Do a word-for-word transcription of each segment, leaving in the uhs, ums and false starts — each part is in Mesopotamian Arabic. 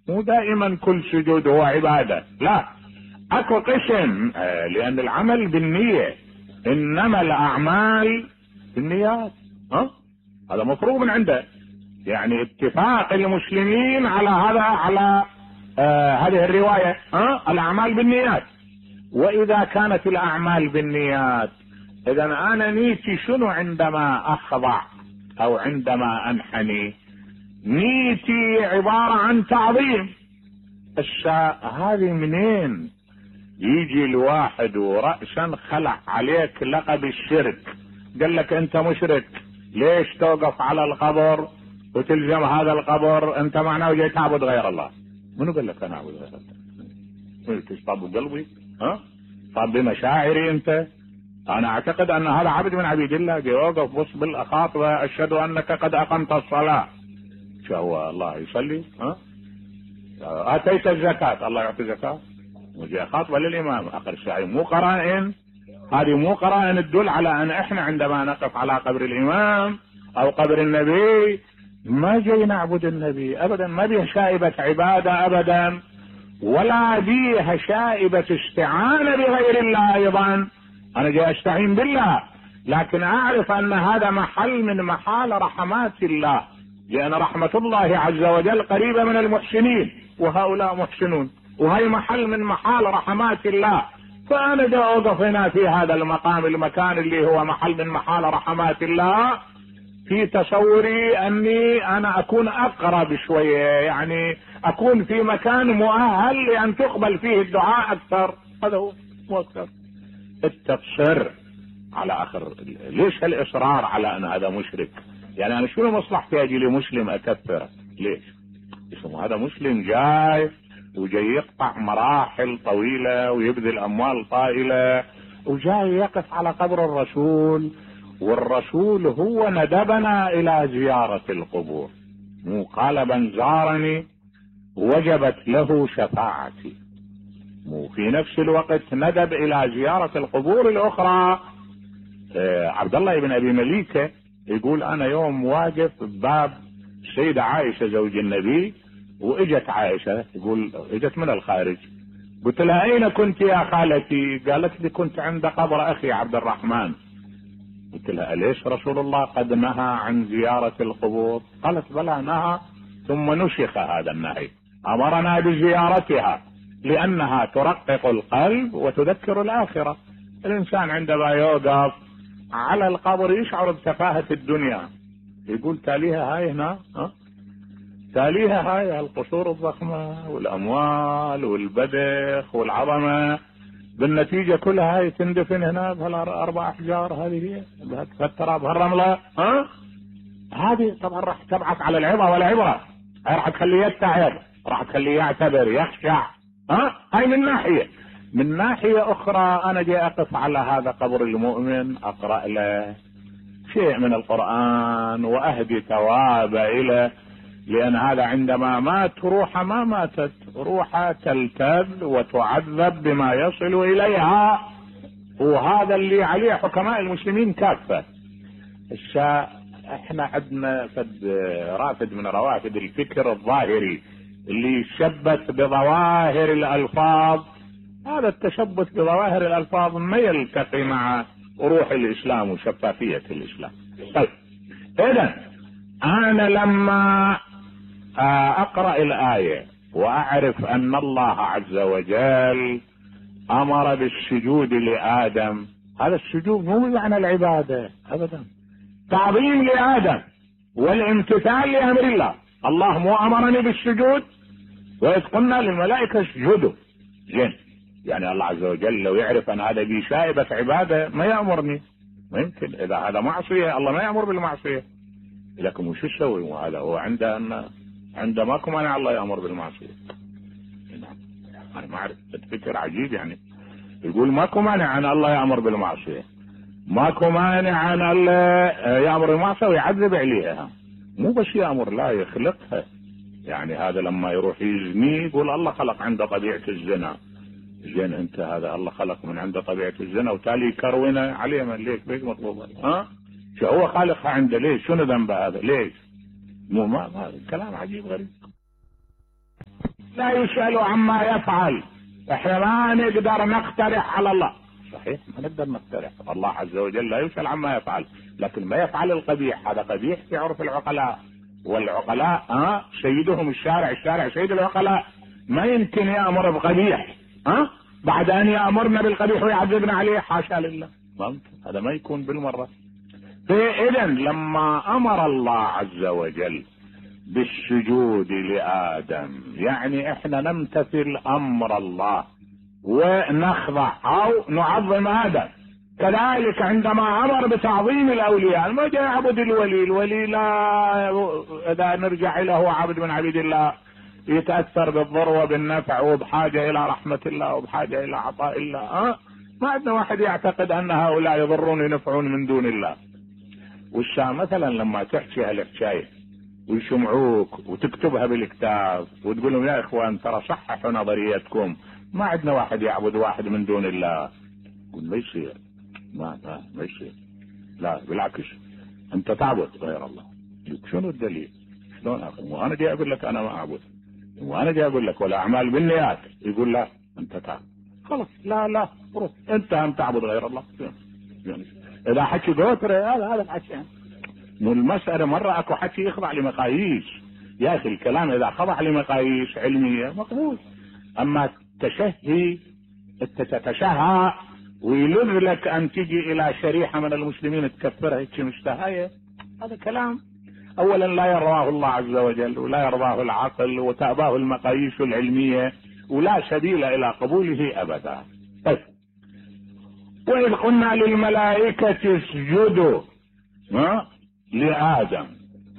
مو دائما كل سجود هو عبادة، لا، اكو قسم، آه لان العمل بالنية، انما الاعمال بالنيات. ها هذا مفروغ من عنده، يعني اتفاق المسلمين على هذا، على آه هذه الرواية، ها الاعمال بالنيات. واذا كانت الاعمال بالنيات، اذا انا نيتي شنو عندما اخضع او عندما انحني؟ نيتي عبارة عن تعظيم. الشاء هذه منين يجي الواحد ورأسا خلع عليك لقب الشرك، قال لك انت مشرك، ليش توقف على القبر وتلزم هذا القبر؟ انت معناه جاي تعبد غير الله. منو قال لك انا اعبد غير الله؟ تشطب قلبي؟ ها طب بمشاعري انت؟ انا اعتقد ان هذا عبد من عبيد الله، جاي يوقف بص بالاخاطبة، اشهد انك قد اقمت الصلاة. شو هو الله يصلي؟ ها اتيت الزكاة، الله يعطي زكاة، وجاء خاطبة للامام. اخر الشيء مو قرائن، هذه مو قرائن تدل على ان احنا عندما نقف على قبر الامام او قبر النبي ما جاي نعبد النبي ابدا، ما بيه شائبة عبادة ابدا، ولا بيها شائبة استعانة بغير الله ايضا. انا جاي استعين بالله، لكن اعرف ان هذا محل من محال رحمات الله، لان رحمة الله عز وجل قريبة من المحسنين، وهؤلاء محسنون، وهي محل من محال رحمات الله. فانا دا اوقف هنا في هذا المقام، المكان اللي هو محل من محال رحمات الله، في تصوري اني انا اكون اقرب شوية، يعني اكون في مكان مؤهل لان تقبل فيه الدعاء اكثر. هذا هو، مو اكثر. التقصير على اخر، ليش الاصرار على ان هذا مشرك؟ يعني انا شنو مصلحتي اجي لمسلم اكفره؟ ليش؟ اسمه هذا مسلم جاي وجاي يقطع مراحل طويلة ويبذل اموال طائلة وجاي يقف على قبر الرسول، والرسول هو ندبنا الى زيارة القبور، مو قال من زارني وجبت له شفاعتي، مو في نفس الوقت ندب الى زيارة القبور الاخرى. آه عبد الله بن ابي مليكة يقول انا يوم واقف بباب السيدة عائشة زوج النبي، واجت عائشة، يقول اجت من الخارج، قلت لها اين كنت يا خالتي؟ قالت لي كنت عند قبر اخي عبد الرحمن. قلت لها اليش رسول الله قد نهى عن زيارة القبور؟ قالت بلى نهى، ثم نسخ هذا النهي، امرنا بزيارتها لانها ترقق القلب وتذكر الاخرة. الانسان عندما يوقف على القبر يشعر بتفاهة الدنيا، يقول تاليها هاي هنا، ها تاليها هاي القصور الضخمة والاموال والبدخ والعظمة، بالنتيجة كلها هاي تندفن هنا بهالاربع احجار، هذه هي بهالتراب بهالرملة. ها هذه طبعا راح تبعث على العظة والعبرة، راح تخليه يتعظ، راح تخليه يعتبر يخشع. ها هاي من ناحية. من ناحية اخرى انا جاي اقف على هذا قبر المؤمن، اقرأ له شيء من القرآن واهدي ثواب اليه، لان هذا عندما مات روحه ما ماتت، روحه تلتذ وتعذب بما يصل اليها، وهذا اللي عليه حكماء المسلمين كافة. الشاء احنا عندنا فد رافد من روافد الفكر الظاهري اللي يشبث بظواهر الالفاظ، هذا التشبث بظواهر الالفاظ ما يلتقي مع روح الاسلام وشفافية الاسلام. طيب اذا انا لما اقرأ الاية واعرف ان الله عز وجل امر بالسجود لادم، هذا السجود مو معنى العبادة ابدا، تعظيم لادم والامتثال لامر الله. الله مو امرني بالسجود؟ واذ قلنا للملائكة اسجدوا، زين، يعني الله عز وجل لو يعرف ان هذا بي شائبة عبادة ما يأمرني، ما يمكن، اذا هذا معصية الله ما يأمر بالمعصية. لكن وش يسوي؟ وهذا هو عنده ان عنده ماكو مانع الله يأمر بالمعصية. انا ما اعرف، الفكر عجيب، يعني يقول ماكو مانع ان الله يأمر بالمعصية، ماكو مانع ان الله يأمر بالمعصية ويعذب عليها، مو بس يأمر، لا يخلقها. يعني هذا لما يروح يزني يقول الله خلق عنده طبيعة الزنا، زين انت هذا الله خلق من عنده طبيعة الزنا وتالي كرونا عليه، من ليش بيك مطلوب؟ ها شو هو خالقها عنده؟ ليش؟ شنو ذنبه هذا؟ ليش؟ مو ما, ما كلام عجيب غريب. لا يسأل عما يفعل. احنا ما نقدر نقترح على الله، صحيح ما نقدر نقترح، الله عز وجل لا يسأل عما يفعل، لكن ما يفعل القبيح هذا قبيح في عرف العقلاء، والعقلاء ها سيدهم الشارع، الشارع سيد العقلاء، ما يمكن يأمر بقبيح ها بعد ان يأمرنا بالقبيح ويعذبنا عليه، حاشا لله، ممكن هذا ما يكون بالمرة. فإذا لما امر الله عز وجل بالسجود لآدم يعني احنا نمتثل امر الله ونخضع او نعظم آدم. كذلك عندما امر بتعظيم الاولياء، ما جاء يعبد الولي، الولي لا اذا نرجع له عبد من عبيد الله يتأثر بالضر وبالنفع وبحاجة الى رحمة الله وبحاجة الى عطاء الله. أه؟ ما عندنا واحد يعتقد ان هؤلاء يضرون وينفعون من دون الله. والشام مثلا لما تحكي هالحكاية ويسمعوك وتكتبها بالكتاب وتقول لهم يا اخوان ترى صححوا نظريتكم، ما عندنا واحد يعبد واحد من دون الله، يقول ما يصير، ما ما, ما يصير، لا بالعكس انت تعبد غير الله. شنو الدليل؟ شلون اخي؟ وانا جاي اقول لك انا ما اعبد، وانا جاي اقول لك ولا اعمال بالنيات، يقول لا انت تعبد، خلاص لا لا روح انت هم تعبد غير الله. يعني اذا حكي قوتر هذا هذا الحكي مو المسألة مرة اكو حكي يخضع لمقاييس، يا اخي الكلام اذا خضع لمقاييس علمية مقبول، اما تشهي انت تتشهى ويلذ لك ان تجي الى شريحة من المسلمين تكفرها هيك مشتهية، هذا كلام اولا لا يرضاه الله عز وجل ولا يرضاه العقل وتأباه المقاييس العلمية ولا سبيل الى قبوله ابدا. طيب وإذ قلنا للملائكة اسجدوا ها لآدم،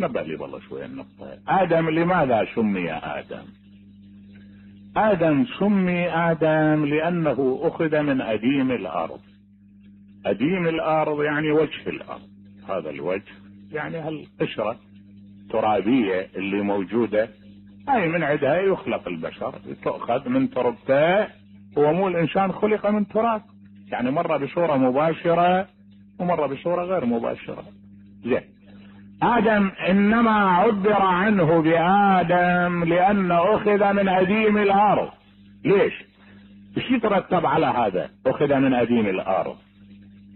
نبه لي والله شوية النقطة. آدم لماذا سمي آدم؟ آدم سمي آدم لأنه أخذ من أديم الأرض. أديم الأرض يعني وجه الأرض، هذا الوجه يعني هالقشرة الترابية اللي موجودة هاي من عدها يخلق البشر، تؤخذ من تربته. هو مو الإنسان خلق من تراب، يعني مرة بصورة مباشرة ومرة بصورة غير مباشرة. زين آدم إنما عبر عنه بآدم لأنه أخذ من أديم الأرض. ليش؟ ايش يترتب على هذا؟ أخذ من أديم الأرض،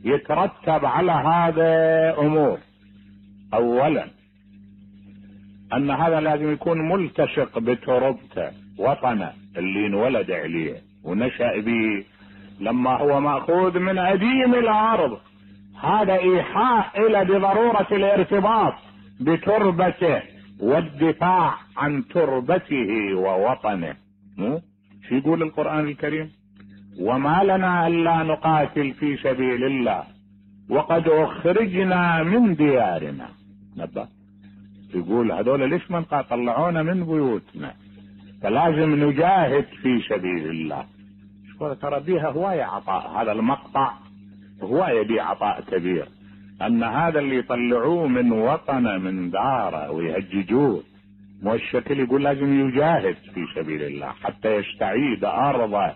يترتب على هذا أمور. أولا أن هذا لازم يكون ملتصق بتربته، وطنه اللي انولد عليه ونشأ به، لما هو مأخوذ من أديم الأرض هذا إيحاء إلى بضرورة الارتباط بتربته والدفاع عن تربته ووطنه. شو يقول القرآن الكريم؟ وما لنا ألا نقاتل في سبيل الله وقد أخرجنا من ديارنا. نبه يقول هذول ليش من طلعونا من بيوتنا، فلازم نجاهد في سبيل الله. ترى بيها هواية عطاء، هذا المقطع هواية بيه عطاء كبير، أن هذا اللي يطلعوه من وطنه من داره ويهججوه مو الشكل، يقول لازم يجاهد في سبيل الله حتى يستعيد أرضه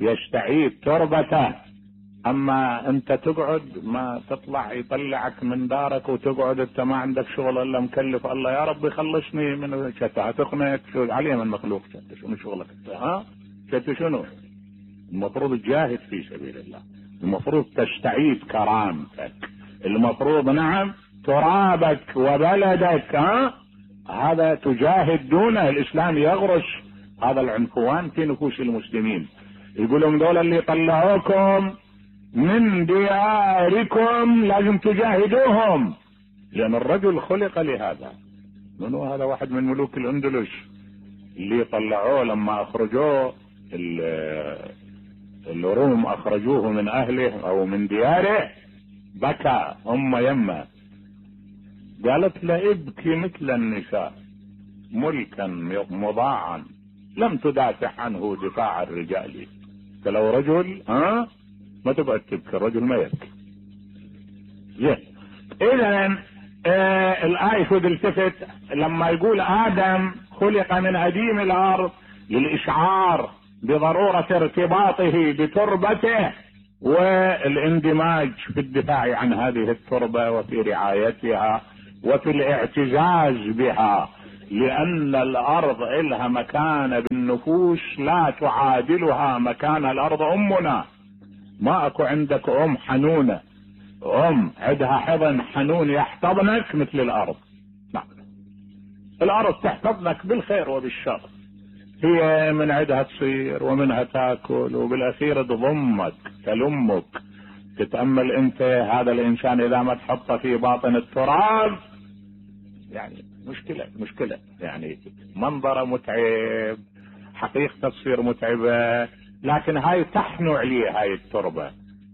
يستعيد تربته. أما أنت تقعد ما تطلع يطلعك من دارك وتقعد أنت ما عندك شغل إلا مكلف الله يا رب يخلصني من شتى تقنك شو عليه من مخلوق شتى شنو شغلك ها شتى شنو؟ المفروض تجاهد في سبيل الله، المفروض تستعيد كرامتك، المفروض نعم ترابك وبلدك ها هذا تجاهد دونه. الإسلام يغرس هذا العنفوان في نفوس المسلمين، يقولون دول اللي طلعوكم من دياركم لازم تجاهدوهم، لأن الرجل خلق لهذا. منو هذا؟ واحد من ملوك الأندلس اللي طلعوه لما أخرجوه الروم، أخرجوه من أهله أو من دياره، بكى أم يمه قالت له ابكي مثل النساء ملكا مضاعا لم تدافع عنه دفاع الرجال. فلو رجل ها ما تقعد تبكي، الرجل ما يبكي. زين اذا آه الآية خذ التفت لما يقول آدم خلق من أديم الأرض للإشعار بضرورة ارتباطه بتربته والاندماج في الدفاع عن هذه التربة وفي رعايتها وفي الاعتزاز بها. لان الارض الها مكانة بالنفوس لا تعادلها مكان الارض امنا. ما اكو عندك ام حنونة، ام عندها حضن حنون يحتضنك مثل الارض. لا، الارض تحتضنك بالخير وبالشر، هي من عندها تصير ومنها تاكل وبالاخير تضمك تلمك. تتأمل انت هذا الانسان اذا ما تحطه في باطن التراب يعني مشكلة مشكلة، يعني منظره متعب، حقيقته تصير متعبة، لكن هاي تحنو عليه هاي التربة،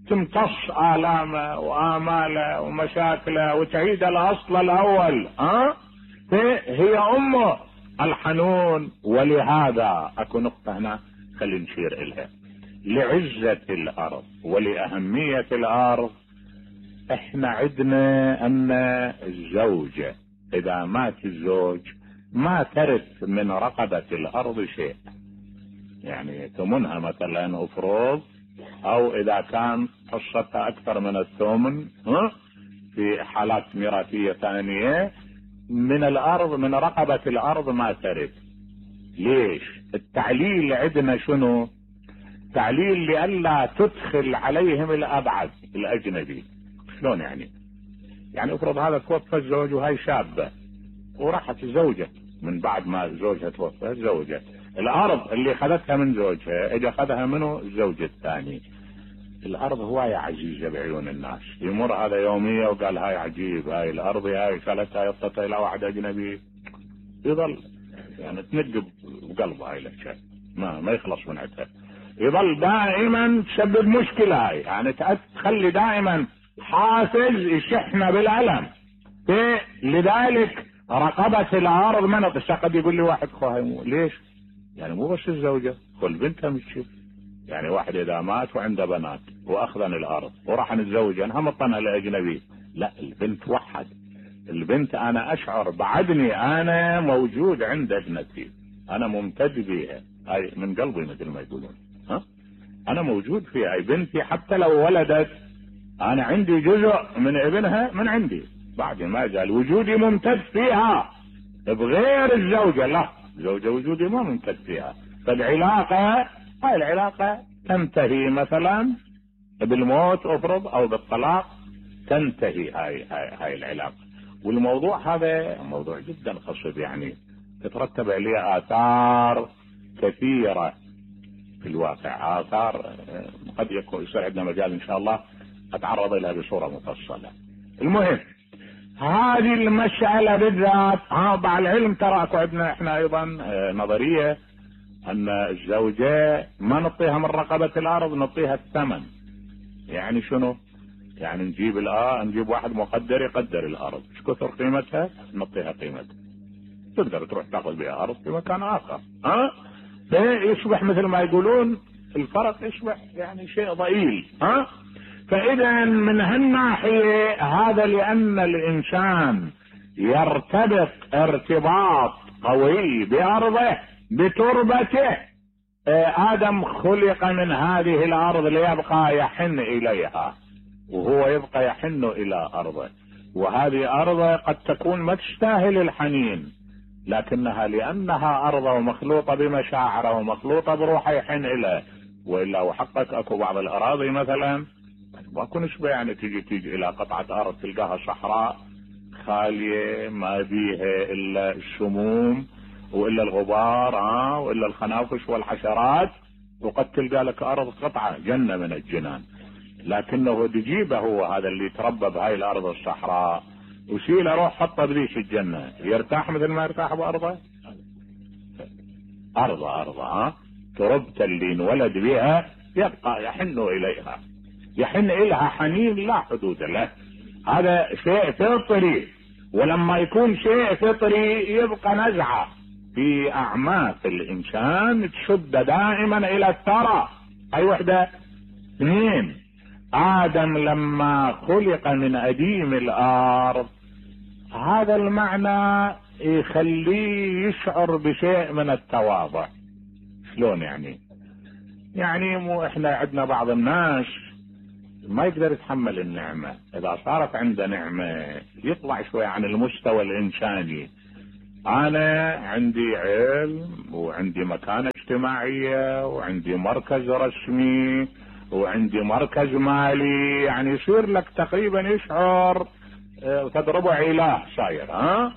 تمتص آلامه وآماله ومشاكله وتعيد الأصل الأول. ها هي أمه الحنون. ولهذا أكو نقطة هنا خلي نشير إلها، لعزة الأرض ولأهمية الأرض. احنا عدنا أن الزوجة إذا مات الزوج ما ترث من رقبة الأرض شيء، يعني ثمنها مثلا افرض، او اذا كان حصتها اكثر من الثمن في حالات ميراثية ثانية من الارض، من رقبة الارض ما ترث. ليش؟ التعليل عندنا شنو؟ تعليل لئلا تدخل عليهم الابعد الاجنبي. شلون يعني؟ يعني افرض هذا توفى الزوج وهي شابة وراحت الزوجة من بعد ما زوجها توفى، الزوجة الارض اللي خذتها من زوجها اجى اخذها منه الزوج الثاني. الارض هواية عزيزة بعيون الناس، يمر هذا يومية وقال هاي عجيب، هاي الارض هاي شالتها يطتها الى واحد اجنبي، يظل يعني تنقب بقلبه هاي الاشياء، ما ما يخلص من عندها، يظل دائما تسبب مشكلة هاي، يعني تخلي دائما حافز يشحنا بالالم. لذلك رقبة الارض منط. قد يقول لي واحد خوها ليش؟ يعني مو بس الزوجة، كل بنتها مش يعني واحد اذا مات وعنده بنات واخذن الارض وراح نتزوج انا هم طنها لاجنبي، لا البنت وحد. البنت انا اشعر بعدني انا موجود عند ابنتي، انا ممتد بيها، هاي من قلبي مثل ما يقولون. ها انا موجود فيها، هاي بنتي حتى لو ولدت انا عندي جزء من ابنها من عندي، بعد ما قال وجودي ممتد فيها بغير الزوجة. لا، زوجة وجودي ما ممتد فيها. فالعلاقة هاي العلاقة تنتهي مثلا بالموت افرض او بالطلاق، تنتهي هاي هاي هاي العلاقة. والموضوع هذا موضوع جدا خصب، يعني تترتب عليه آثار كثيرة في الواقع، آثار قد يكون يصير عندنا مجال إن شاء الله أتعرض لها بصورة مفصلة. المهم هذه المسألة بالذات مع العلم ترى اكو عندنا احنا ايضا نظرية ان الزوجة ما نعطيها من رقبة الارض، نعطيها الثمن. يعني شنو؟ يعني نجيب الآ نجيب واحد مقدر يقدر الارض، ايش كثر قيمتها نعطيها قيمتها، تقدر تروح تاخذ بها ارض في مكان اخر. ها فيصبح مثل ما يقولون الفرق يصبح يعني شيء ضئيل. ها فاذا من هالناحية هذا لان الانسان يرتبط ارتباط قوي بارضه بتربته. ادم خلق من هذه الارض ليبقى يحن اليها، وهو يبقى يحن الى ارضه، وهذه ارضه قد تكون ما تستاهل الحنين، لكنها لانها ارضه ومخلوطة بمشاعره ومخلوطة بروحه يحن اليه. والا وحقك اكو بعض الاراضي مثلا ما نشبه، يعني تيجي تيجي الى قطعة ارض تلقاها صحراء خالية ما بيها الا السموم والا الغبار ها والا الخنافش والحشرات، وقد تلقى لك ارض قطعة جنة من الجنان. لكنه تجيبه هو هذا اللي تربى بهاي الارض الصحراء وشيله روح حطه بذيش الجنة، يرتاح مثل ما يرتاح بارضه؟ ارضه ارضه ها تربته اللي انولد بها يبقى يحن اليها، يحن الها حنين لا حدود له. هذا شيء فطري، ولما يكون شيء فطري يبقى نزعة في اعماق الانسان تشد دائما الى الثرى. اي وحدة. اثنين، ادم لما خلق من اديم الارض هذا المعنى يخليه يشعر بشيء من التواضع. شلون يعني؟ يعني مو احنا عندنا بعض الناس ما يقدر يتحمل النعمة، اذا صارت عنده نعمة يطلع شوي عن المستوى الانساني، انا عندي علم وعندي مكانة اجتماعية وعندي مركز رسمي وعندي مركز مالي، يعني يصير لك تقريبا يشعر تضربه علاج صاير. ها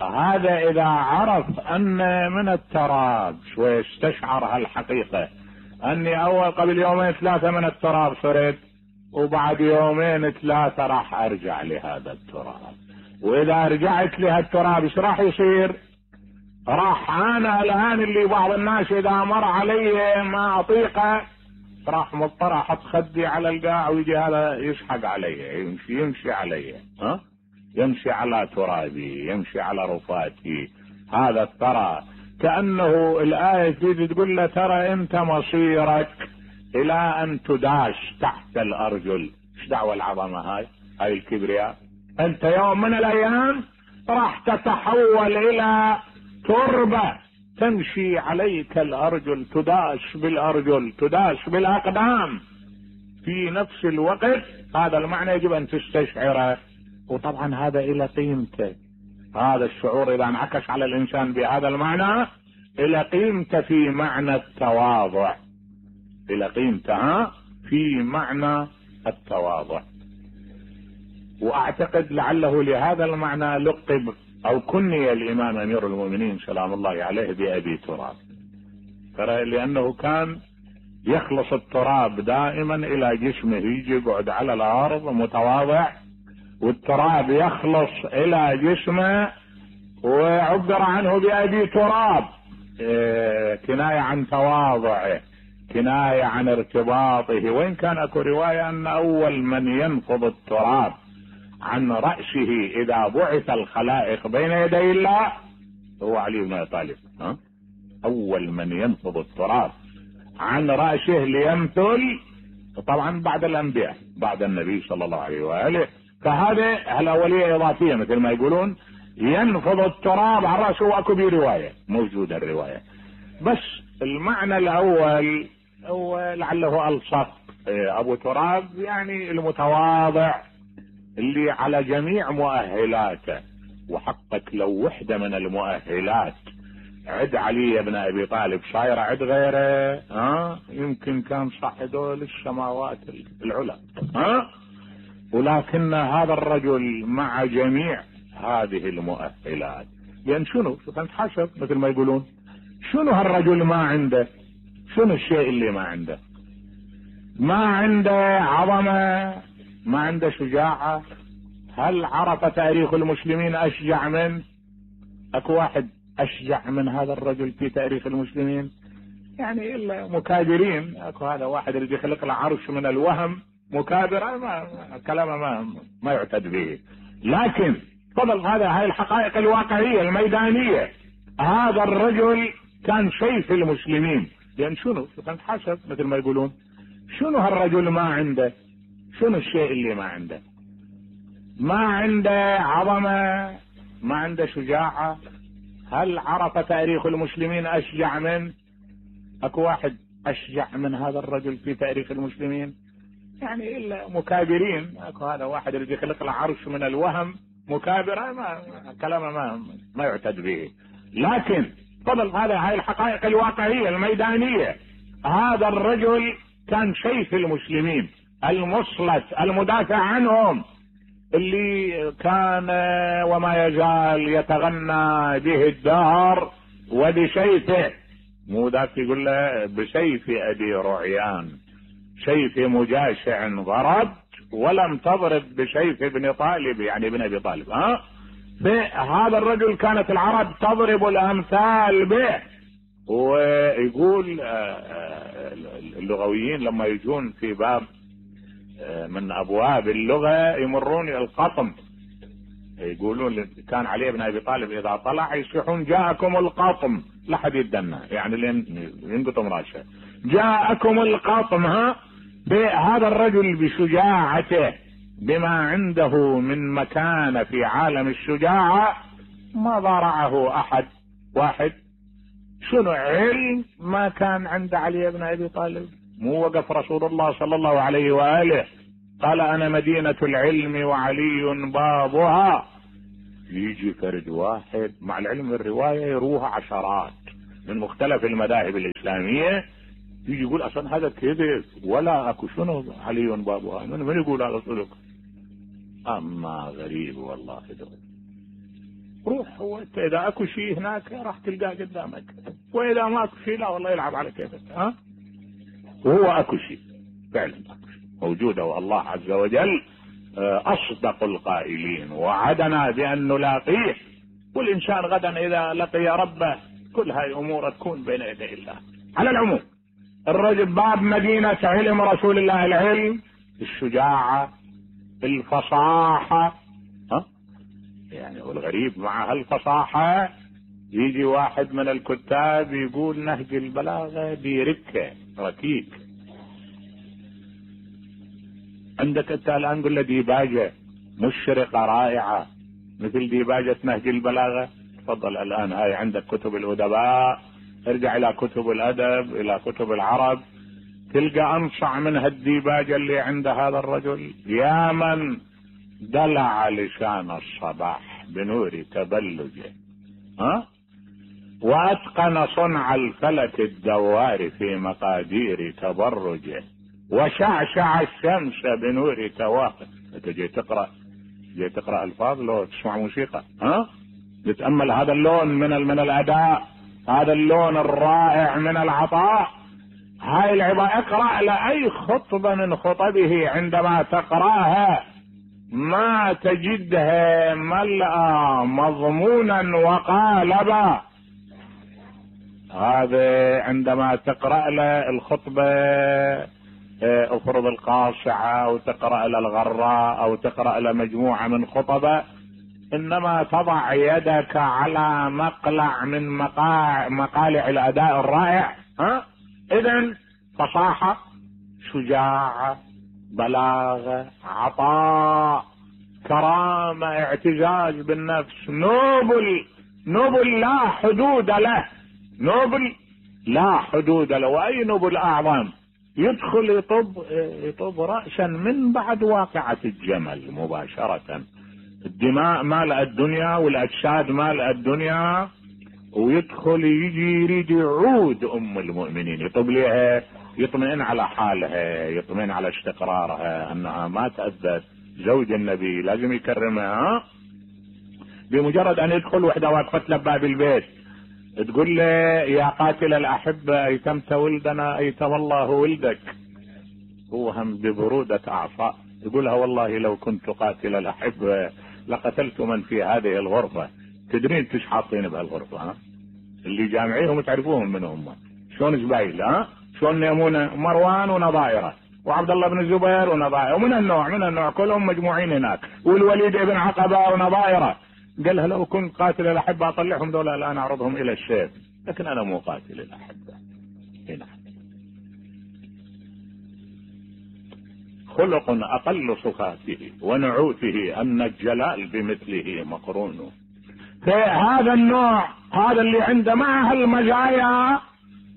هذا اذا عرف ان من التراب شوي استشعر هالحقيقة، اني اول قبل يومين ثلاثة من التراب صرت، وبعد يومين ثلاثة راح ارجع لهذا التراب، واذا رجعت لهالتراب ايش راح يصير؟ راح انا الان اللي بعض الناس اذا مر علي ما اطيقه راح مضطر احط خدي على القاع ويجي هذا يشحق علي، يمشي يمشي علي، ها يمشي على ترابي، يمشي على رفاتي. هذا الترى كأنه الآية تريد تقول له ترى انت مصيرك الى ان تداش تحت الارجل. ايش دعوة العظمة هاي هاي الكبرياء؟ انت يوم من الايام راح تتحول الى تربة تمشي عليك الارجل، تداش بالارجل، تداش بالاقدام في نفس الوقت. هذا المعنى يجب ان تستشعره، وطبعا هذا الى قيمته. هذا الشعور اذا انعكس على الانسان بهذا المعنى الى قيمته في معنى التواضع، الى قيمته في معنى التواضع. واعتقد لعله لهذا المعنى لقب او كني الامام امير المؤمنين سلام الله عليه بابي تراب، ترى لانه كان يخلص التراب دائما الى جسمه، يجي يقعد على الارض متواضع والتراب يخلص الى جسمه، وعبر عنه بابي تراب كناية عن تواضعه، كناية عن ارتباطه. وإن كان اكو رواية ان اول من ينفض التراب عن رأسه اذا بعث الخلائق بين يدي الله هو علي بن ابي طالب. ها اول من ينفض التراب عن رأسه ليمثل، طبعا بعد الانبياء بعد النبي صلى الله عليه وآله، فهذا الاولية اضافية مثل ما يقولون، ينفض التراب عن رأسه. واكو برواية موجودة الرواية، بس المعنى الاول هو لعله الصق ابو تراب يعني المتواضع اللي على جميع مؤهلاته. وحقك لو وحدة من المؤهلات عد علي بن ابي طالب صاير عد غيره، ها يمكن كان صعدوا للسماوات العلى، ها ولكن هذا الرجل مع جميع هذه المؤهلات، لان شنو شوف انت حسب مثل ما يقولون، شنو هالرجل ما عنده؟ شنو الشيء اللي ما عنده؟ ما عنده عظمة، ما عنده شجاعة. هل عرف تاريخ المسلمين اشجع من؟ اكو واحد اشجع من هذا الرجل في تاريخ المسلمين؟ يعني الا مكابرين. اكو هذا واحد اللي بيخلق له عرش من الوهم مكابر، ما كلامه ما ما يعتد به. لكن فضل هذا هاي الحقائق الواقعية الميدانية. هذا الرجل كان سيف المسلمين، لان شنو شوف انت حسب مثل ما يقولون، شنو هالرجل ما عنده؟ شنو الشيء اللي ما عنده؟ ما عنده عظمة، ما عنده شجاعة. هل عرف تاريخ المسلمين اشجع من؟ اكو واحد اشجع من هذا الرجل في تاريخ المسلمين؟ يعني الا مكابرين. اكو هذا واحد اللي يخلق له عرش من الوهم مكابر، ما كلامه ما ما يعتد به. لكن فضل هذا هاي الحقائق الواقعية الميدانية. هذا الرجل كان سيف المسلمين المسلط المدافع عنهم، اللي كان وما يزال يتغنى به الدهر وبسيفه. مو ذاك يقول له بسيف ابي رعيان سيف مجاشع ضرب ولم تضرب بسيف ابن طالب، يعني ابن ابي طالب. ها هذا الرجل كانت العرب تضرب الامثال به. ويقول اللغويين لما يجون في باب من ابواب اللغة يمرون القطم، يقولون كان علي بن ابي طالب اذا طلع يصيحون جاءكم القطم، لا حد يدنا يعني لين ينقطم راسه، جاءكم القطم. ها بهذا الرجل بشجاعته بما عنده من مكانة في عالم الشجاعة ما ضارعه احد. واحد شنو علم ما كان عند علي بن ابي طالب. مو وقف رسول الله صلى الله عليه وآله قال انا مدينة العلم وعلي بابها، يجي فرد واحد، مع العلم الرواية يروها عشرات من مختلف المذاهب الإسلامية، يجي يقول اصلا هذا كذب ولا اكو شنو علي بابها، من, من يقول هذا صدق؟ اما غريب والله دول. روح هو انت اذا اكو شيء هناك راح تلقاه قدامك، واذا ما اكو شيء لا والله يلعب على كيفك. ها وهو اكو شيء فعلا، اكو شيء موجوده، والله عز وجل اصدق القائلين وعدنا بان نلاقيه، والانسان غدا اذا لقي ربه كل هاي امور تكون بين يدي الله. على العموم الرجل باب مدينة علم رسول الله، العلم، الشجاعة، الفصاحة. ها يعني والغريب مع هالفصاحة يجي واحد من الكتاب يقول نهج البلاغة بركة ركيك. عندك انت الان قل له ديباجة مشرقة رائعة مثل ديباجة نهج البلاغة، تفضل الان هاي عندك كتب الادباء، ارجع الى كتب الادب، الى كتب العرب، تلقى انصع من هالديباجة اللي عند هذا الرجل. يا من دلع لسان الصباح بنور تبلجه، ها واتقن صنع الفلك الدوار في مقادير تبرجه، وشعشع الشمس بنور توافه. انت جاي تقرا جاي تقرا الفاظ لو تسمع موسيقى، ها تتامل هذا اللون من من الاداء، هذا اللون الرائع من العطاء. هاي العبارة اقرأ لأي خطبة من خطبه عندما تقرأها ما تجدها ملأ مضمونا وقالبا. هذا عندما تقرأ له الخطبة افرض القاصعة او تقرأ له الغراء او تقرأ له مجموعة من خطبه، انما تضع يدك على مقلع من مقاع مقالع الاداء الرائع. ها اذن فصاحة، شجاعة، بلاغة، عطاء، كرامة، اعتزاز بالنفس، نوبل نوبل لا حدود له، نوبل لا حدود له. واي نوبل اعظم يدخل يطب يطب رأسا من بعد واقعة الجمل مباشرة. الدماء مالئة الدنيا والاجساد مالئة الدنيا، ويدخل يجي يريد يعود ام المؤمنين، يطب لها، يطمئن على حالها، يطمئن على استقرارها، انها ما تأذت، زوج النبي لازم يكرمها. بمجرد ان يدخل وحده واقفت له باب البيت تقول له يا قاتل الاحبه ايتمت ولدنا ايتم الله ولدك، هو هم ببروده اعصاب يقولها والله لو كنت قاتل الاحبه لقتلت من في هذه الغرفه. تدرين ايش حاطين بهالغرفه؟ ها اللي جامعيهم تعرفوهم من هم، شلون زبايل، ها شلون يمونه، مروان ونظائره وعبد الله بن الزبير ونظائره، ومن النوع من النوع كلهم مجموعين هناك، والوليد بن عقبه ونظائره. قالها لو كنت قاتل الاحبه اطلعهم دول الان اعرضهم الى السيف، لكن انا مو قاتل الاحبه. هنا خلق اقل صفاته ونعوته ان الجلال بمثله مقرون. فهذا النوع هذا اللي عنده مع هالمزايا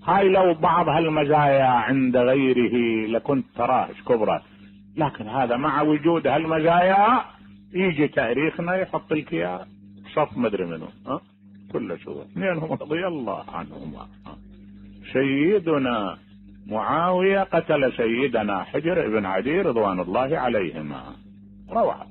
هاي، لو بعض هالمزايا عند غيره لكنت تراه كبرى، لكن هذا مع وجود هالمزايا يجي تاريخنا يحط لك اياه صف مدري منه، ها كل شو اثنينهم رضي الله عنهما. سيدنا معاوية قتل سيدنا حجر بن عدي رضوان الله عليهما، روعة.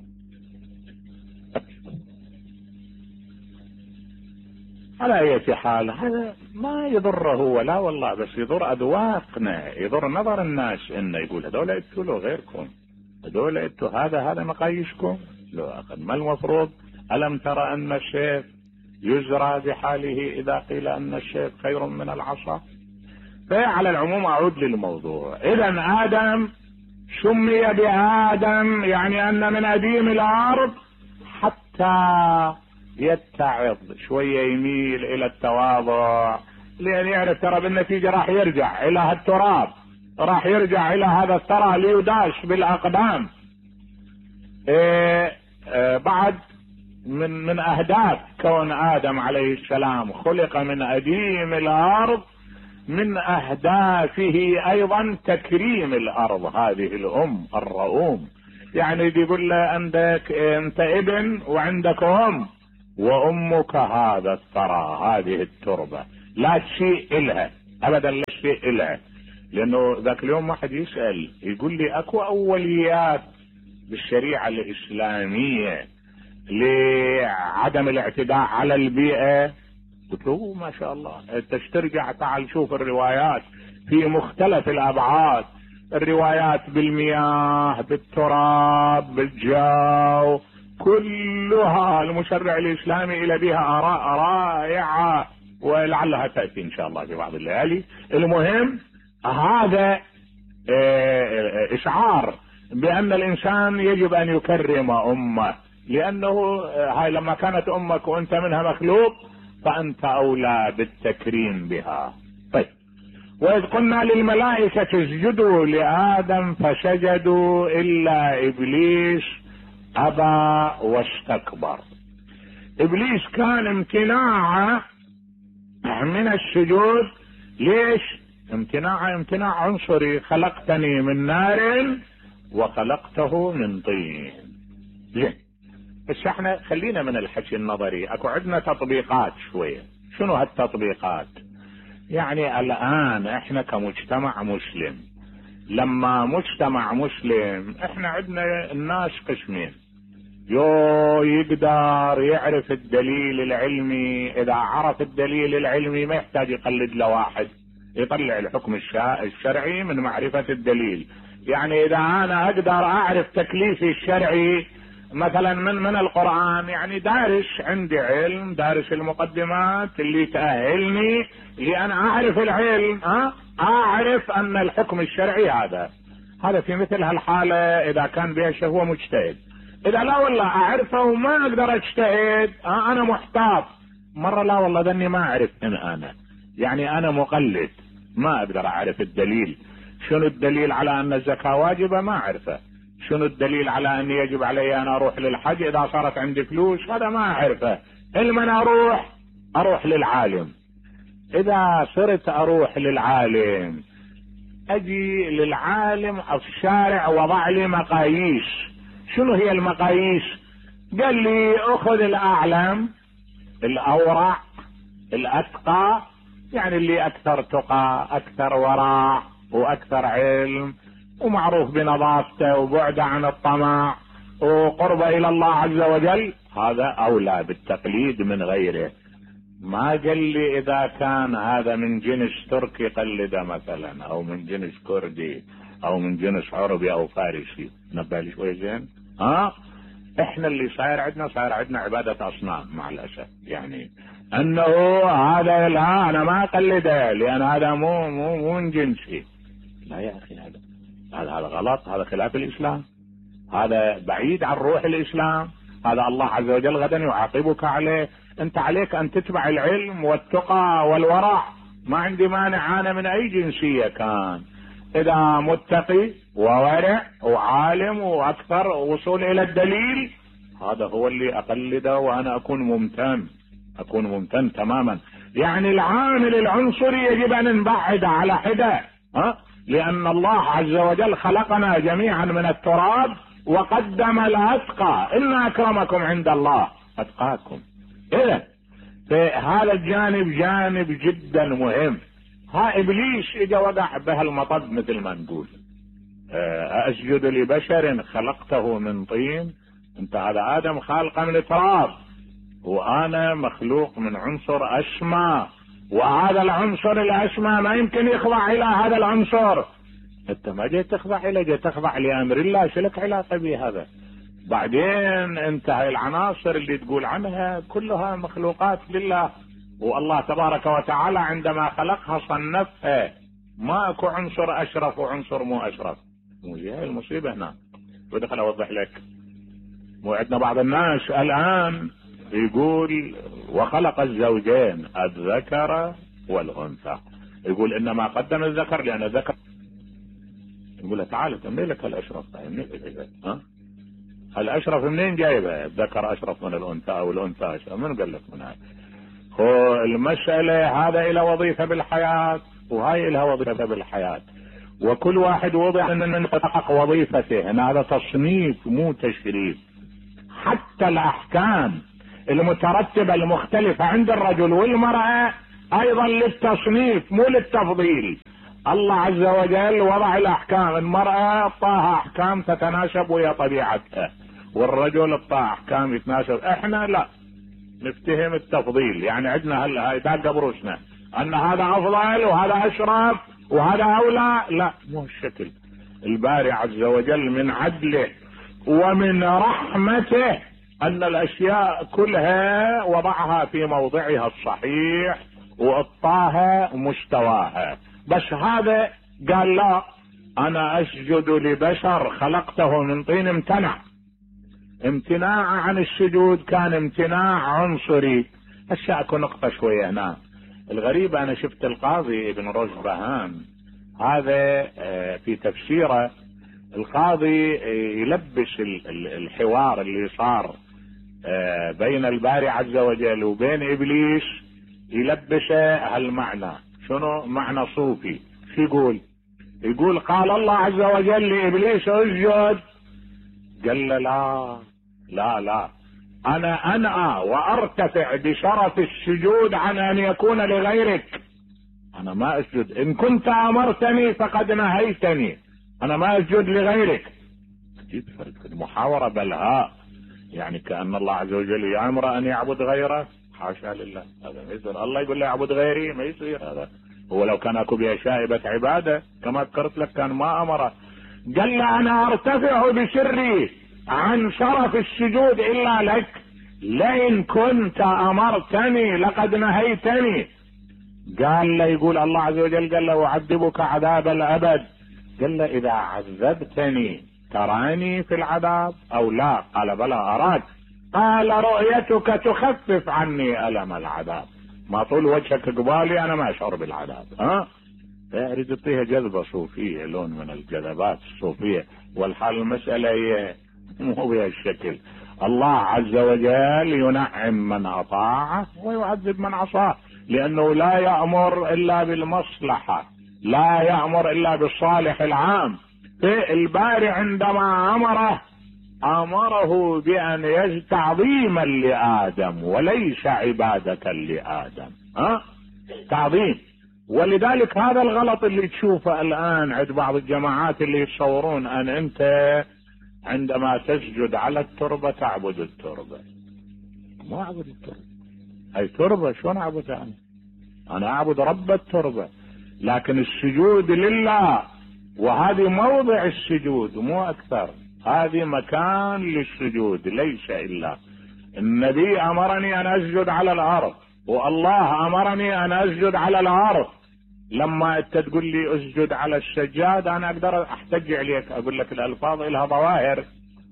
على اي حال هذا ما يضره ولا والله، بس يضر اذواقنا، يضر نظر الناس، انه يقول هذول انتوا لو غيركم، هذول انتوا هذا هذا مقاييسكم، لو اخذ ما المفروض؟ الم ترى ان السيف يزرى بحاله اذا قيل ان السيف خير من العصا؟ فعلى العموم اعود للموضوع. اذا ادم سمي بادم يعني ان من اديم الارض حتى يتعظ شوية، يميل الى التواضع، لان يعرف ترى بالنتيجة راح يرجع الى هالتراب، راح يرجع الى هذا الثرى ليداش بالاقدام. إيه إيه بعد من من اهداف كون ادم عليه السلام خلق من اديم الارض، من اهدافه ايضا تكريم الارض، هذه الام الرؤوم. يعني بيقول له عندك انت ابن وعندك ام، وامك هذا الثرى، هذه التربة لا شيء الها ابدا، لا شيء الها. لانه ذاك اليوم واحد يسأل يقول لي اكو اوليات بالشريعة الاسلامية لعدم الاعتداء على البيئة؟ قلت له ما شاء الله، انت ترجع تعال شوف الروايات في مختلف الابعاد، الروايات بالمياه، بالتراب، بالجو، كلها المشرع الاسلامي الى بها اراء رائعة، ولعلها تأتي ان شاء الله في بعض الليالي. المهم هذا اشعار بان الانسان يجب ان يكرم امه، لانه هاي لما كانت امك وانت منها مخلوق فانت اولى بالتكريم بها. طيب، واذ قلنا للملائكة اسجدوا لآدم فسجدوا الا ابليس ابى واستكبر. ابليس كان امتناعه من السجود. ليش امتناعه؟ امتناع عنصري، خلقتني من نار وخلقته من طين. زين، بس احنا خلينا من الحكي النظري، اكو عندنا تطبيقات شوية. شنو هالتطبيقات؟ يعني الان احنا كمجتمع مسلم، لما مجتمع مسلم احنا عندنا الناس قسمين، يو يقدر يعرف الدليل العلمي، اذا عرف الدليل العلمي ما يحتاج يقلد له واحد، يطلع الحكم الشرعي من معرفة الدليل. يعني اذا انا اقدر اعرف تكليفي الشرعي مثلا من من القرآن، يعني دارس، عندي علم، دارس المقدمات اللي تأهلني لأن أعرف العلم، أه؟ أعرف أن الحكم الشرعي هذا هذا في مثل هالحالة إذا كان بها هو مجتهد. إذا لا والله أعرفه وما أقدر أجتهد، أه؟ أنا محتاط مرة، لا والله ذني ما أعرف إن أنا يعني أنا مقلد، ما أقدر أعرف الدليل. شنو الدليل على أن الزكاة واجبة؟ ما أعرفه. شنو الدليل على أن يجب علي أن أروح للحج إذا صارت عندي فلوس؟ هذا ما أعرفه. علما أروح أروح للعالم. إذا صرت أروح للعالم، أجي للعالم الشارع وضع لي مقاييس. شنو هي المقاييس؟ قال لي أخذ الأعلم، الأورع، الأتقى، يعني اللي أكثر تقى، أكثر ورع، وأكثر علم، ومعروف بنظافته، وبعده عن الطمع، وقربه الى الله عز وجل، هذا اولى بالتقليد من غيره. ما قال لي اذا كان هذا من جنس تركي قلده مثلا، او من جنس كردي، او من جنس عربي او فارسي. نبالي شوي زين. ها احنا اللي صاير عندنا صاير عندنا عبادة اصنام مع الاسف، يعني انه هذا لا انا ما اقلده لان هذا مو مو مو من جنسي. لا يا اخي، هذا هذا هذا غلط، هذا خلاف الاسلام، هذا بعيد عن روح الاسلام، هذا الله عز وجل غدا يعاقبك عليه. انت عليك ان تتبع العلم والتقى والورع. ما عندي مانع انا من اي جنسية كان، اذا متقي وورع وعالم واكثر وصول الى الدليل، هذا هو اللي اقلده وانا اكون ممتن، اكون ممتن تماما. يعني العامل العنصري يجب ان نبعد على حدة، ها؟ لأن الله عز وجل خلقنا جميعا من التراب وقدم الأتقى، إن أكرمكم عند الله أتقاكم. إذا هذا الجانب جانب جدا مهم. ها إبليس إجا وقع بها المطب مثل ما نقول، أسجد لبشر خلقته من طين. أنت هذا آدم خالقه من تراب، وأنا مخلوق من عنصر أسمى، وهذا العنصر الأسمى ما يمكن يخضع إلى هذا العنصر. أنت ما جيت تخضع إلى، جيت تخضع لأمر الله، شلك علاقة بهذا؟ بعدين أنت هاي العناصر اللي تقول عنها كلها مخلوقات لله، والله تبارك وتعالى عندما خلقها صنفها، ما اكو عنصر أشرف وعنصر مو أشرف. مو هي المصيبة هنا. ودخل أوضح لك، مو عندنا بعض الناس الآن يقول وخلق الزوجين الذكر والأنثى، يقول إنما قدم الذكر لأن الذكر، يقول له تعال تملي لك الأشرف، منين جايبه؟ ها الأشرف منين جايبه؟ الذكر أشرف من الأنثى أو الأنثى أشرف، من قال لك من هاي؟ هو المسألة هذا له وظيفة بالحياة وهاي لها وظيفة بالحياة، وكل واحد وضع من يحقق وظيفته. هنا هذا تصنيف مو تشريف. حتى الأحكام المترتبة المختلفة عند الرجل والمرأة ايضا للتصنيف مو للتفضيل. الله عز وجل وضع الاحكام، المرأة اعطاها احكام تتناسب ويا طبيعتها، والرجل اعطاه احكام يتناسب. احنا لا نفتهم التفضيل، يعني عندنا هلا هاي داقة بروسنا ان هذا افضل وهذا اشرف وهذا اولى، لا مو الشكل. الباري عز وجل من عدله ومن رحمته ان الاشياء كلها وضعها في موضعها الصحيح واعطاها مستواها. بس هذا قال لا، انا اسجد لبشر خلقته من طين، امتنع. امتناع عن السجود كان امتناع عنصري. هسه اكو نقطة شوية هنا. الغريب انا شفت القاضي ابن رشبهان هذا في تفسيره، القاضي يلبس الحوار اللي صار بين الباري عز وجل وبين ابليس، يلبسه هالمعنى. شنو معنى صوفي؟ شو يقول؟ يقول قال الله عز وجل لابليس اسجد، قال له لا لا لا، انا انأى وارتفع بشرف السجود عن ان يكون لغيرك. انا ما اسجد، ان كنت امرتني فقد نهيتني، انا ما اسجد لغيرك. محاورة بلهاء، يعني كأن الله عز وجل يأمر ان يعبد غيره. حاشا لله، هذا ما يصير. الله يقول له اعبد غيري، ما يصير هذا. هو لو كان اكو بها شائبة عبادة كما ذكرت لك كان ما امره. قال له انا ارتفع بسري عن شرف السجود الا لك، لئن كنت امرتني لقد نهيتني. قال له، يقول الله عز وجل قال له اعذبك عذاب الابد. قال له اذا عذبتني تراني في العذاب او لا؟ قال بلى اراك. قال رؤيتك تخفف عني الم العذاب، ما طول وجهك قبالي انا ما اشعر بالعذاب. ها يريد يعطيها جذبة صوفية، لون من الجذبات الصوفية، والحال المسألة هي مو بهالشكل. الله عز وجل ينعم من اطاعه ويعذب من عصاه، لانه لا يأمر الا بالمصلحة، لا يأمر الا بالصالح العام. الباري عندما امره امره بان يجد تعظيما لادم وليس عبادة لادم. ها تعظيم. ولذلك هذا الغلط اللي تشوفه الان عند بعض الجماعات اللي يتصورون ان انت عندما تسجد على التربة تعبد التربة. ما اعبد التربة، هاي تربة شلون اعبدها انا؟ انا اعبد رب التربة. لكن السجود لله، وهذه موضع السجود مو اكثر، هذه مكان للسجود ليس الا. النبي امرني ان اسجد على الارض، والله امرني ان اسجد على الارض. لما انت تقول لي اسجد على السجاد انا اقدر احتج عليك، اقول لك الالفاظ لها ظواهر،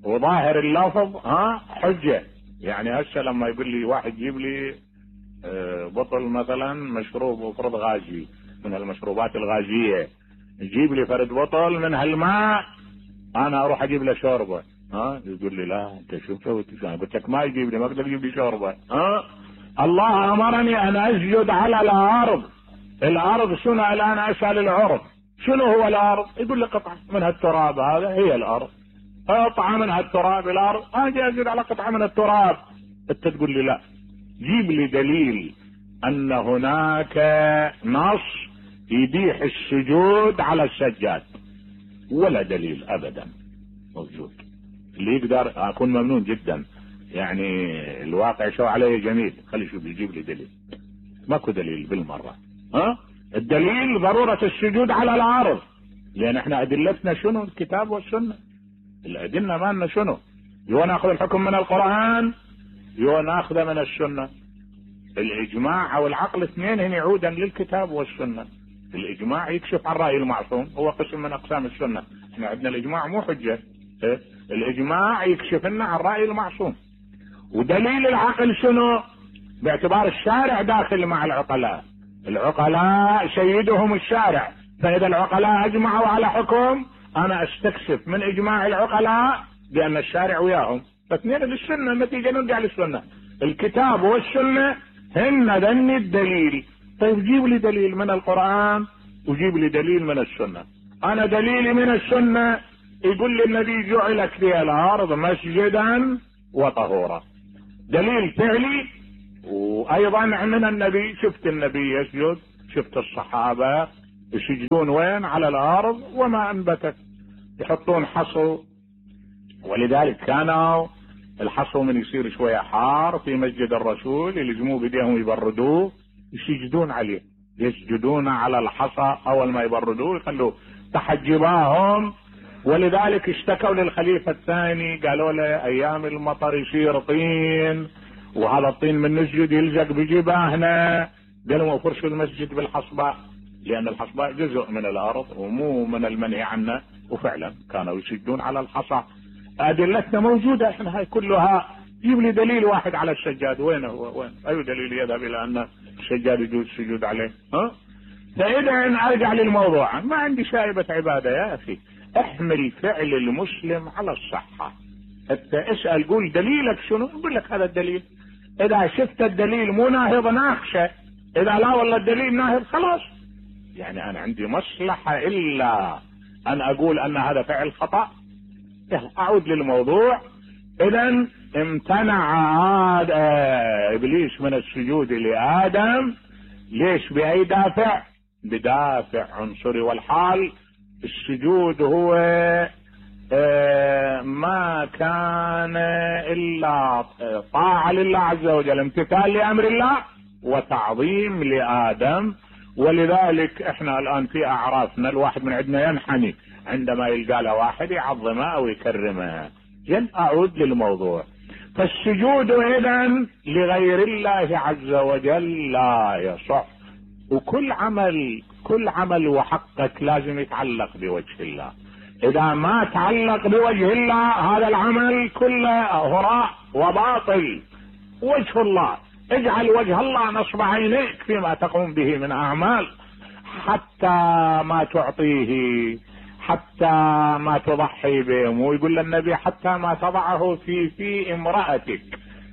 وظاهر اللفظ ها حجة. يعني هسه لما يقول لي واحد جيب لي بطل مثلا مشروب وفرض غازي من المشروبات الغازية، يجيب لي فرد بطل من هالماء، انا اروح اجيب له شوربة. ها يقول لي لا انت شو سويت؟ قلت لك ما يجيب لي، ما اقدر اجيب لي شوربة. ها الله امرني ان اسجد على الارض. الارض شنو الان؟ اسال العرف شنو هو الارض؟ يقول لي قطعة من هالتراب، هذا هي الارض، قطعة من هالتراب الارض، اجي اسجد على قطعة من التراب. انت تقول لي لا، جيب لي دليل ان هناك نص يبيح السجود على السجاد. ولا دليل ابدا موجود. اللي يقدر اكون ممنون جدا، يعني الواقع شو عليه جميل، خلي شوف يجيب لي دليل. ماكو دليل بالمرة. ها الدليل ضرورة السجود على الارض، لان احنا ادلتنا شنو؟ الكتاب والسنة. الادلة مالنا شنو؟ يو ناخذ الحكم من القرآن يو ناخذه من السنة. الاجماع او العقل اثنين هن يعودا للكتاب والسنة. الاجماع يكشف عن رأي المعصوم، هو قسم من اقسام السنة. احنا عندنا الاجماع مو حجة، إيه؟ الاجماع يكشف لنا عن رأي المعصوم. ودليل العقل شنو؟ باعتبار الشارع داخل مع العقلاء، العقلاء سيدهم الشارع، فاذا العقلاء اجمعوا على حكم انا استكشف من اجماع العقلاء بان الشارع وياهم، فاثنين للسنة، النتيجة نرجع للسنة. الكتاب والسنة هن ذن الدليل. طيب جيب لي دليل من القرآن وجيب لي دليل من السنة. انا دليلي من السنة يقول لي الذي جعلت لي الارض مسجدا وطهورا. دليل فعلي. وايضا من النبي، شفت النبي يسجد، شفت الصحابة يسجدون وين؟ على الارض وما انبتت، يحطون حصو. ولذلك كانوا الحصو من يصير شوية حار في مسجد الرسول يلزموه بديهم يبردوه، يسجدون عليه، يسجدون على الحصى اول ما يبردوه يخلوه تحت جباههم. ولذلك اشتكوا للخليفة الثاني، قالوا له ايام المطر يصير طين، وهذا الطين من نسجد يلزق بجباهنا. قالوا فرشوا المسجد بالحصباء، لان الحصباء جزء من الارض ومو من المنهي عنه. وفعلا كانوا يسجدون على الحصى. ادلتنا موجودة احنا هاي كلها. جيب لي دليل واحد على السجاد، وين هو؟ وين اي دليل يذهب الى ان السجاد يجوز السجود عليه؟ ها؟ فاذا ارجع للموضوع، ما عندي شائبة عبادة يا اخي، احمل فعل المسلم على الصحة. انت اسأل قول دليلك شنو، يقول لك هذا الدليل. اذا شفت الدليل مو ناهض ناقشه، اذا لا والله الدليل ناهض خلاص. يعني انا عندي مصلحة الا ان اقول ان هذا فعل خطأ. اعود للموضوع. اذا امتنع عاد ابليس من السجود لادم، ليش؟ باي دافع؟ بدافع عنصري. والحال السجود هو ما كان الا طاعة لله عز وجل، امتثال لامر الله وتعظيم لادم. ولذلك احنا الان في اعرافنا الواحد من عندنا ينحني عندما يلقى له واحد يعظمه او يكرمه. جل اعود للموضوع. فالسجود اذا لغير الله عز وجل لا يصح. وكل عمل كل عمل وحقك لازم يتعلق بوجه الله. اذا ما تعلق بوجه الله هذا العمل كله هراء وباطل. وجه الله، اجعل وجه الله نصب عينيك فيما تقوم به من اعمال، حتى ما تعطيه، حتى ما تضحي به. ويقول النبي حتى ما تضعه في في امرأتك.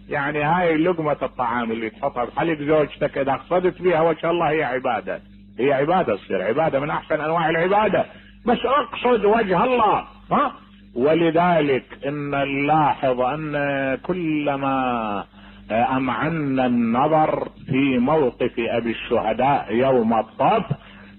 يعني هاي لقمة الطعام اللي تحطها بحلق زوجتك اذا قصدت بها وجه الله هي عبادة، هي عبادة، تصير عبادة من احسن انواع العبادة، بس اقصد وجه الله. ها؟ ولذلك ان نلاحظ ان كلما امعنا النظر في موقف ابي الشهداء يوم الطف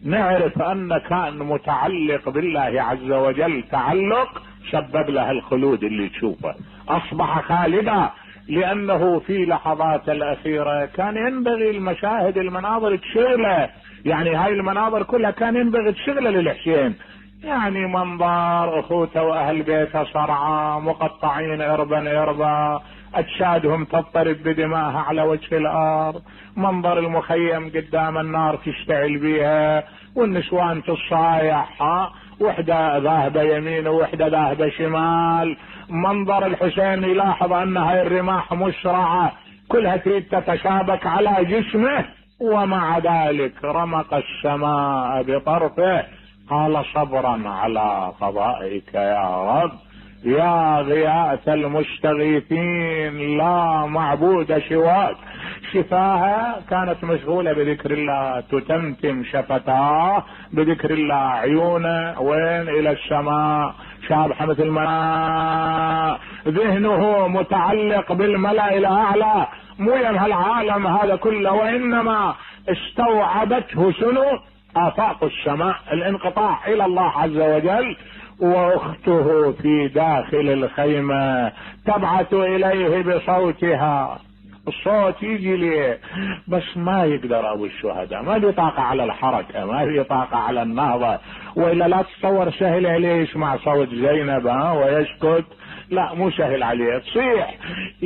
نعرف ان كان متعلق بالله عز وجل تعلق سبب له الخلود اللي تشوفه، اصبح خالدا. لانه في لحظات الاخيرة كان ينبغي المشاهد المناظر تشغله، يعني هاي المناظر كلها كان ينبغي تشغله للحسين. يعني منظر اخوته واهل بيته صرعى مقطعين اربا اربا، اجسادهم تضطرب بدماها على وجه الارض، منظر المخيم قدام النار تشتعل بيها، والنسوان تصايح، وحده ذاهبه يمين ووحده ذاهبه شمال. منظر الحسين يلاحظ ان هاي الرماح مسرعه كلها تريد تتشابك على جسمه، ومع ذلك رمق السماء بطرفه، قال صبرا على قضائك يا رب، يا غياث المستغيثين لا معبود سواك. شفاها كانت مشغولة بذكر الله، تتمتم شفتاه بذكر الله، عيونه وين؟ الى السماء، شابحة مثل ما ذهنه متعلق بالملأ الاعلى، مو يم هالعالم هذا كله، وانما استوعبته شنو؟ آفاق السماء، الانقطاع الى الله عز وجل. واخته في داخل الخيمة تبعث اليه بصوتها، الصوت يجي ليه بس ما يقدر ابو الشهداء، ما له طاقة على الحركة، ما له طاقة على النهضة. والا لا تتصور سهل عليه يسمع صوت زينب ها ويسكت، لا مو سهل عليه، تصيح